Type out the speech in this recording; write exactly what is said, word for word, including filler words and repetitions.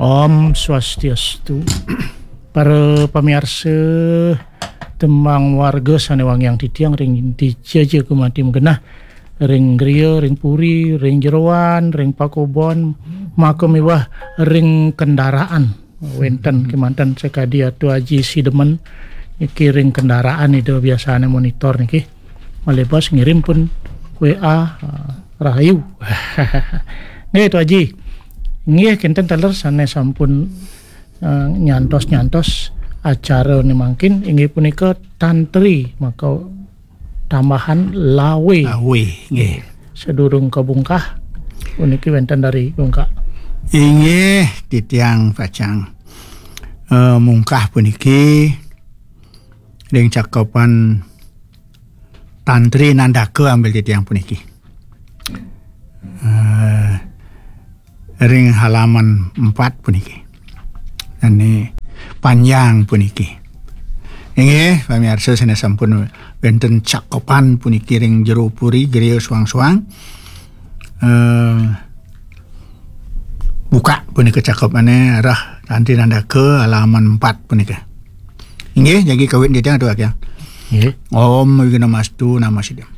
Om Swastiastu. Para pamiarsa, tembang warga sane wangiang titiang ring dija-dija gumanti magenah, ring griya, ring puri, ring jeroan, ring pakubon, maka miwah ring kendaraan. Wenten kemanten sakadi Atu Aji Sidemen niki ring kendaraan Ida biasane monitor niki. Malebas ngirim pun W A, ah, rahayu. Nggih, Atu Aji. Nggih, kinten taler sane sampun, eh, nyantos-nyantos acara ni mangkin, inggih punika tantri, maka tambahan lawe. Lawe, nggih. Sadurung kabungkah, puniki wenten dari bungkah. Inggih, titiang pacang, eh, mungkah puniki ring cakepan Tantri Nandaka ambil titiang puniki. Eh, ring halaman empat puniki. Dane panjang puniki. Inggih, pamiarsa sane sampun wenten cakepan puniki ring jero puri, griya suang-suang. Eh, buka punika cakepane arah Tantri Nandaka halaman empat punika. Inggih, jagi kawit titiang Atu Aji. Nggih. Om Wighnamastu Namo Siddham.